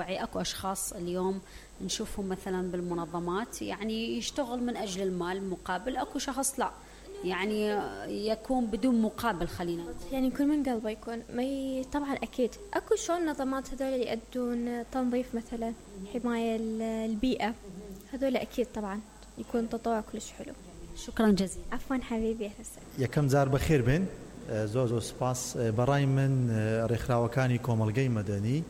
وعي اكو اشخاص اليوم نشوفهم مثلا بالمنظمات يعني يشتغل من اجل المال مقابل، اكو شخص لا يعني يكون بدون مقابل. خلينا يعني يكون من قلبه يكون طبعا اكيد اكو شلون نظامات هذول اللي يؤدون تنظيف مثلا، حماية البيئة، هذول اكيد طبعا يكون تطوع كلش حلو. شكرا جزيلا. عفوا حبيبي هسه یەکەم جار بەخێر بێن، زۆر سپاس. بەڕای من ڕێکخراوەکانی کۆمەڵگەی مەدەنی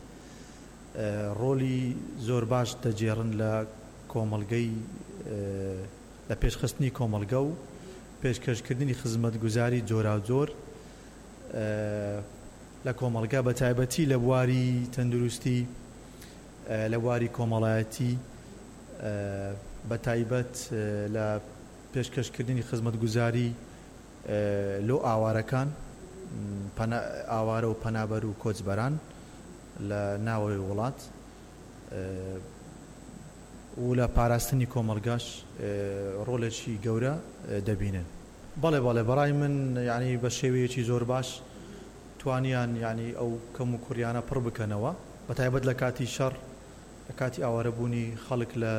ڕۆلی زۆر باش دەجێڕن لە کۆمەڵگەی، لە پێشخستنی کۆمەڵگە و پێشکەشکردنی خزمەتگوزاری جۆراوجۆر لە کۆمەڵگە، بە تایبەتی لە بواری تەندروستی، لە بواری کۆمەڵایەتی، بە تایبەت لە پێشکەشکردنی خزمەتگوزاری لۆ ئاوارەکان، ئاوارە و پەنابەر و کۆچبەران لە ناوەوەی وڵات، و لە پاراستنی کۆمەڵگاش ڕۆڵێکی گەورە دەبینن. بەڵێ بەڕای من یعنی بە شێوەیەکی زۆر باش توانیان یعنی ئەو کەم و کوڕیانە پڕ بکەنەوە، بە تایبەت لە کاتی شەڕ، لە کاتی ئاوارەبوونی خەڵک لە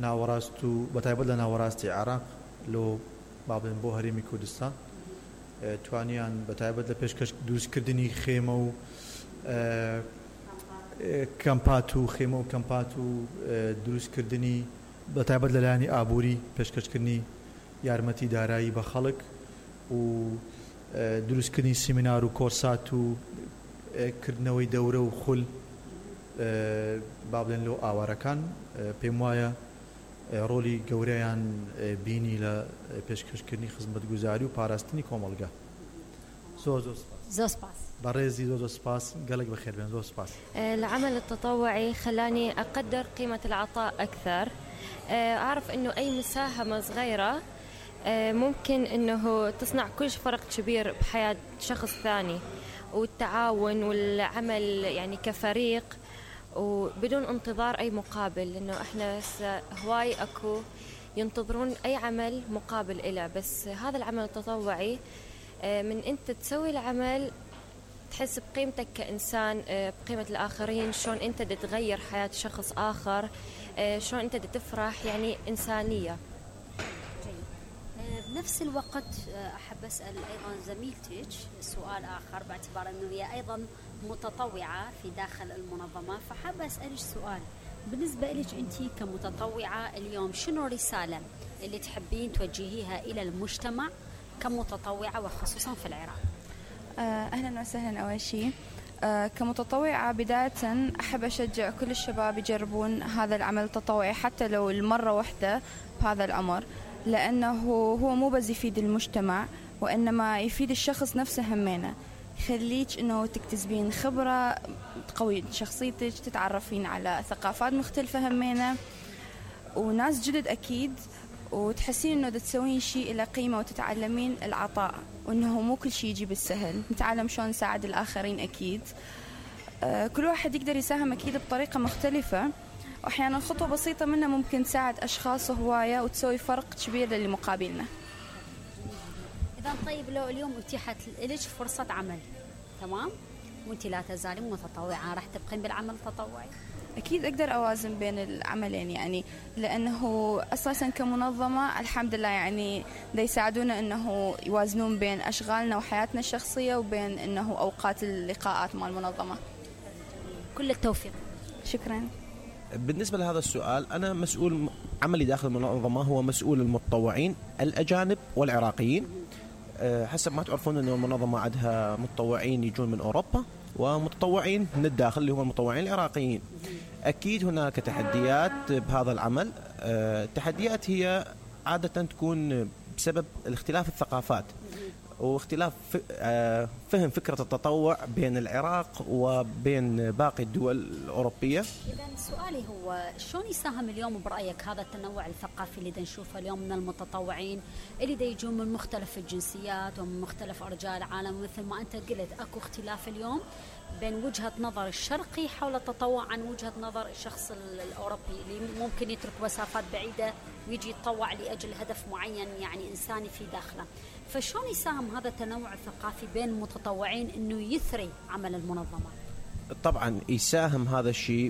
ناوەڕاست و بە تایبەت لە ناوەڕاستی عێراق لۆ بابن بۆ هەرێمی کوردستان توانیان بە تایبەت لە پێشکەش دروستکردنی خێمە و کەمپات و دروستکردنی بە تایبەت لەلایەنی ئابووری، پێشکەشکردنی یارمەتی دارایی بە خەڵک و دروستکردنی سیمینار و کۆرسات و کردنەوەی دەورە و خول با بڵێن لۆ ئاوارەکان، پێم وایە ڕۆلی گەورەیان بینی لە پێشکەشکردنی خزمەتگوزاری و پاراستنی کۆمەڵگە. زۆر سپاس. بەڕێزی زۆر سپاس، گەلێک بەخێر بێن. زۆر سپاس. العمل التطوعي خلاني أقدر قيمة العطاء أكثر، أعرف أنه أي مساهمة صغيرة ممكن أنه تصنع كل فرق كبير بحياة شخص ثاني، والتعاون والعمل يعني كفريق وبدون انتظار أي مقابل، لأنه إحنا هواي أكو ينتظرون أي عمل مقابل إله، بس هذا العمل التطوعي من أنت تسوي العمل تحس بقيمتك كإنسان، بقيمة الآخرين، شلون أنت تتغير حياة شخص آخر، شلون أنت تفرح، يعني إنسانية. بنفس الوقت أحب أسأل أيضا زميلتك سؤال آخر، باعتبار أنه هي أيضا متطوعة في داخل المنظمة، فحابة أسألك سؤال بالنسبة لك أنت كمتطوعة اليوم، شنو الرسالة اللي تحبين توجهيها إلى المجتمع كمتطوعة وخصوصا في العراق؟ أهلا وسهلا. أول شيء كمتطوعة بداية أحب أشجع كل الشباب يجربون هذا العمل التطوعي حتى لو المرة واحدة بهذا العمر، لأنه هو مو بس يفيد المجتمع وإنما يفيد الشخص نفسه همينة، يخليك إنه تكتسبين خبرة، تقوي شخصيتك، تتعرفين على ثقافات مختلفة همينة وناس جدد أكيد، وتحسين إنه تسوين شيء إلى قيمة، وتتعلمين العطاء، وإنه مو كل شيء يجي بالسهل، نتعلم شلون نساعد الآخرين أكيد. كل واحد يقدر يساهم أكيد بطريقة مختلفة، وأحيانا خطوة بسيطة منها ممكن تساعد أشخاص هواية وتسوي فرق كبير للي مقابلنا. إذا طيب لو اليوم أتيحت لك فرصة عمل، تمام، وأنت لا تزالين متطوعة، راح تبقين بالعمل التطوعي؟ أكيد أقدر أوازن بين العملين، يعني لأنه أساسا كمنظمة الحمد لله يعني دا يساعدونا أنه يوازنون بين أشغالنا وحياتنا الشخصية وبين أنه أوقات اللقاءات مع المنظمة. كل التوفيق. شكرا. بالنسبة لهذا السؤال، أنا مسؤول عملي داخل المنظمة هو مسؤول المتطوعين الأجانب والعراقيين. حسب ما تعرفون أن المنظمة عندها متطوعين يجون من أوروبا ومتطوعين من الداخل اللي هم المتطوعين العراقيين. أكيد هناك تحديات بهذا العمل، التحديات هي عادة تكون بسبب الاختلاف الثقافات واختلاف فهم فكرة التطوع بين العراق وبين باقي الدول الأوروبية. إذن سؤالي هو شلون يساهم اليوم برأيك هذا التنوع الثقافي اللي نشوفه اليوم من المتطوعين اللي يجون من مختلف الجنسيات ومن مختلف أرجاء العالم، مثل ما أنت قلت أكو اختلاف اليوم بين وجهة نظر الشرقي حول التطوع عن وجهة نظر الشخص الأوروبي اللي ممكن يترك مسافات بعيدة ويجي يتطوع لأجل هدف معين يعني إنساني في داخله، فشلون يساهم هذا التنوع الثقافي بين المتطوعين إنه يثري عمل المنظمة؟ طبعا يساهم هذا الشيء